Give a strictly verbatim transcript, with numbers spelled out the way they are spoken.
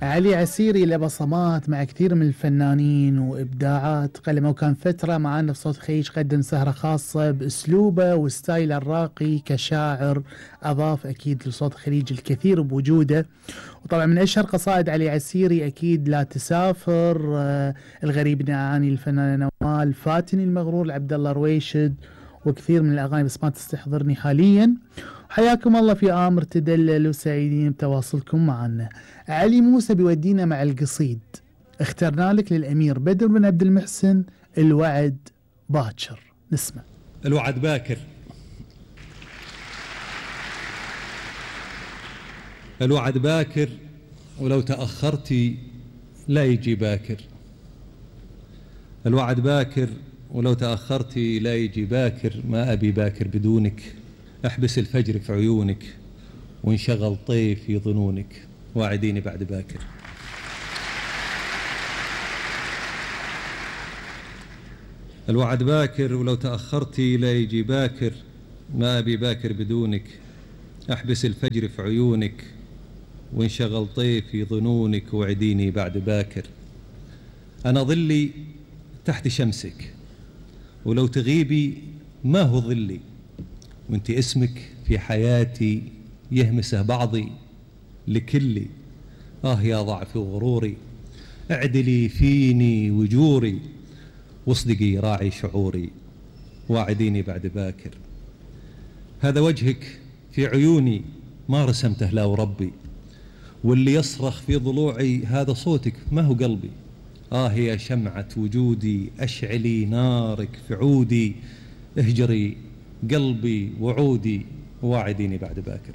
علي عسيري له بصمات مع كثير من الفنانين وإبداعات قلمه، وكان فترة معانا في صوت الخليج قدم سهرة خاصة بأسلوبه وستايله الراقي كشاعر. أضاف أكيد لصوت الخليج الكثير بوجوده. وطبعا من أشهر قصائد علي عسيري أكيد لا تسافر، آه الغريب نعاني الفنانة نوال، فاتني المغرور لعبد الله رويشد، وكثير من الأغاني بس ما تستحضرني حاليا. حياكم الله في آمر تدلل وسعيدين بتواصلكم معنا. علي موسى بيودينا مع القصيد، اخترنا لك للأمير بدر بن عبد المحسن الوعد باكر. نسمع. الوعد باكر. الوعد باكر ولو تأخرتي لا يجي باكر. الوعد باكر ولو تأخرتي لا يجي باكر. ما أبي باكر بدونك، احبس الفجر في عيونك وانشغل طيف في ظنونك. واعديني بعد باكر. الوعد باكر ولو تأخرتي لا يجي باكر. ما أبي باكر بدونك، احبس الفجر في عيونك وانشغل طيف في ظنونك. واعديني بعد باكر. أنا ظلي تحت شمسك، ولو تغيبي ما هو ظلي، وانت اسمك في حياتي يهمسه بعضي لكلي. آه يا ضعفي وغروري، اعدلي فيني وجوري، واصدقي راعي شعوري. واعديني بعد باكر. هذا وجهك في عيوني ما رسمته لا وربي، واللي يصرخ في ضلوعي هذا صوتك ما هو قلبي. آه يا شمعة وجودي، أشعلي نارك في عودي، اهجري قلبي وعودي. واعديني بعد باكر.